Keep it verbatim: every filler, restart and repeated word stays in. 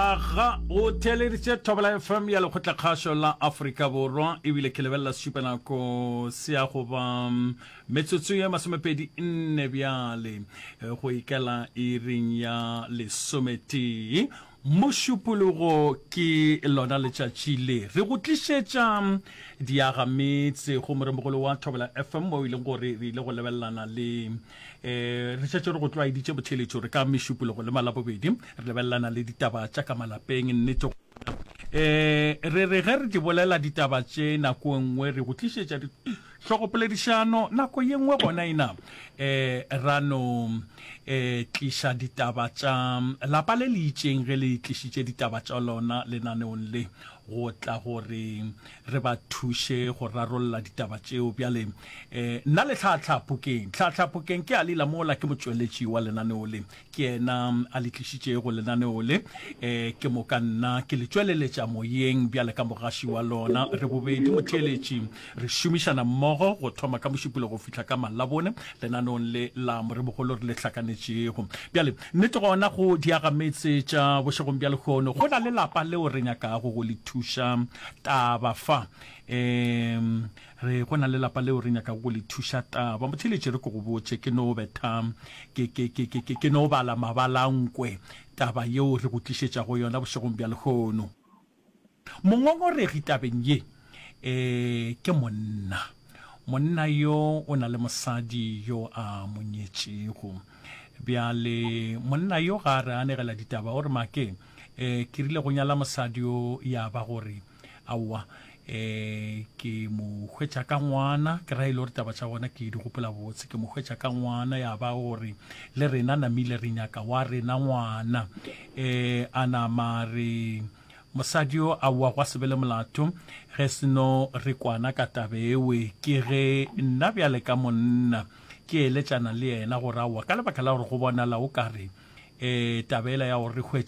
Aga o theeleditše Thobela F M ya Lekgotlakgašo la Afrika Borwa, ebile ke lebelela sešupanako se ya go ba metsotso ye masomepedi nne bjale go ikela iring ya lesometee. Mošupologo ke lona letšatši le re go tlišetša diagametse go moremogolo wa Thobela F M, mo e leng gore re ile go lebelelana le um re šetše re go tlwaeditše botheletšo re ka mešupologo le malabobedi re lebelelana le ditaba tša ka malapeng. Nnete um re re ge re di bolela ditaba tše, nako e nngwe re go tlišetša hlogopoledišano, nako ye nngwe gona ena um ra no um tliša ditaba tša lapa le le itšeng. Ge le tlišitše ditaba tša lona lenaneong le, go tla gore re ba thuše go rarolla ditaba tšeo. Bjale um nna le Tlhatlha Phokeng, Tlhatlha Phokeng ke a lela mola ke motšweletši wa lenaneo le, ke yena a le tlišitšego lenaneo le um ke moka nna ke le tšweleletša moyeng bjale ka mogaši wa lona. Re bobedi, motheeletši, re šomišana mmogo go thoma ka Mošupolo go fihla ka Malabone lenaneong le la Moremogolo re le hlakanetšego. Bjale nnete gona go diagametse tša bošegong bja lehono, go na le lapa leo re nyakago go le thuša taba fa. um re go na le lapa leo re nyakago go le thuša taba. Motheeletši, re ke go botše, ke no betha ke ke ke ke ke no bala mabalankwe taba yeo re go tlišetšago yona bošegong bja lehono. Mongongoregi tabeng ye um ke monna. Monna yo o na le mosadi yo a mo nyetšego. Bjale monna yo ga a re anegela ditaba, o re make um ke rile go nyala mosadi yo, ya ba gore aowa, um ke mo hwetša ka ngwana. Ke ra e le gore taba tša gona ke di gopola botse. Ke mo hwetša ka ngwana, ya ba gore le rena namile re nyaka wa rena ngwana. um a nama re mosadi yo aowa, gwa se be le molato ge seno re kwana ka tabewe. Ke ge nna bjale ka monna ke eletšana le yena gore aowa, ka lebaka la gore go bonala o kare um tabela ya gore re hwetše